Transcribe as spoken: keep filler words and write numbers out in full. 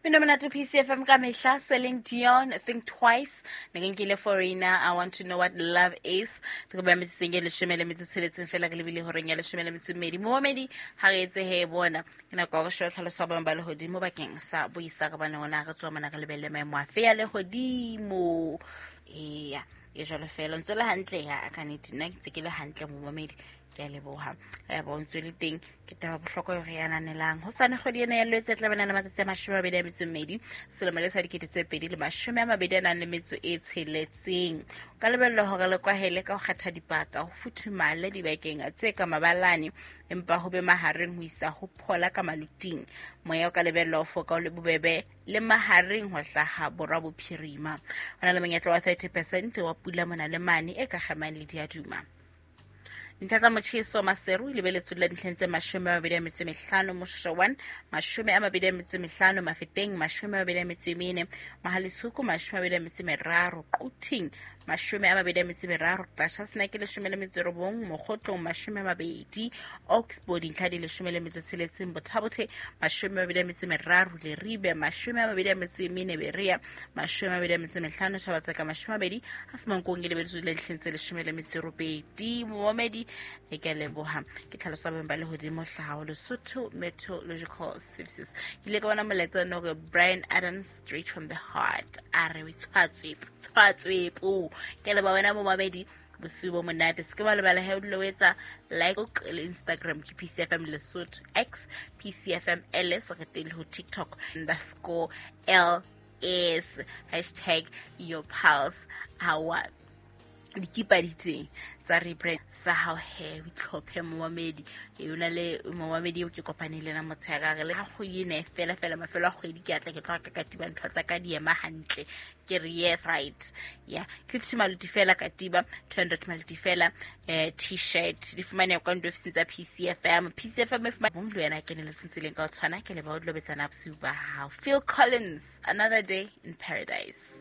Mmino monate P C F M ka mehla, Celine Dion, Think Twice. Ne ke nkile Foreigner, I Want to Know What Love Is. Ke ba metseng e leshome le metso tsheletseng fela re lebile horeng ya leshome le metso e mmedi. Momamedi ha re etse he bona. Ke nako ya hore shebe tlhaloso ya boemo ba lehodimo bakeng sa boisa re bone hore re tswa mona re lebelle maemo afe ya lehodimo. Eya, e jwalo fela. Ntse le hantle ya ka nnete, nna ke ntse ke le hantle momamedi. Ke a leboha. Ya bo ntse le teng ke taba bohlokwa eo re e ananelang. Hosane kgwedi ena ya Lwetse e tla bana le matsatsi a mashome a mabedi a metso e mmedi, selemo le sa dikete tse pedi le mashome a mabedi a nang le metso e tsheletseng. O ka lebellwa hore le kwahele ka ho kgetha dibaka, ho futhumale dibakeng tse ka mabalane, empa ho be mahareng ho isa ho phola ka maluting. Moya o ka lebellwa ho foka o le bobebe le mahareng ho hlaha borwa bophirima. Ho na le monyetla wa thirty percent wa pula mona le mane e ka kgemang le diaduma. Dintlha tsa motjheso Maseru e lebeletswe le dintlheng tse mashome a mabedi a metso e mehlano, Moshoeshoe one, mashome a mabedi a metso e mehlano, Mafeteng, mashome a mabedi a metso e mene, Mohale'shoek, mashome a mabedi a metso e meraro, Quthing, mashome a mabedi a metso e meraro, Qacha's Nek leshome le metso e robong, Mokhotlong, mashome a mabedi, Oxbow dintlha di leshome le metso e tsheletseng, Botha-Bothe, mashome a mabedi a metso e meraro, Leribe, mashome a mabedi a metso e mene, Berea, mashome a mabedi a metso e mehlano, Thabatseka, mashome a mabedi, ha Semonkong e lebeletswe le dintlheng tse leshome le metso e robedi. Momamedi, e ke a leboha. Ke tlhaloso ya boemo ba lehodimo hlaha ho Lesotho Meteorological Services. Ke ile ka bona molaetsa ono hore Bryan Adams, straight from the heart, a re o tshwatswe, tshwatswe po. Ke leboha wena momamedi, bosiu bo monate. Se ke ba lebala he o dule o etsa like le Instagram ke P C F M Lesotho, X P C F M L S, re teng le ho TikTok underscore L S, hashtag your pulse. Hawa dikipa di teng tsa rebrand sa hao he, o itlhophe momamedi. E o na le momamedi eo ke kopaneng le yena motshehare, le ha kgwedi ena e fela fela, mafelo a kgwedi ke a tla ke tlo reka katiba, ntho tsa ka di ema hantle. Ke re yes, right. Yeah, fifty maluti fela katiba, two hundred maluti fela, eh, t-shirt. Di fumaneha kwa ntlo ofising tsa P C F M. P C F M e fumane mong le wena a keneletseng tseleng ka ho tshwana. Ke leboha o dula o betsana bosiu ba hao. Phil Collins, Another Day in Paradise.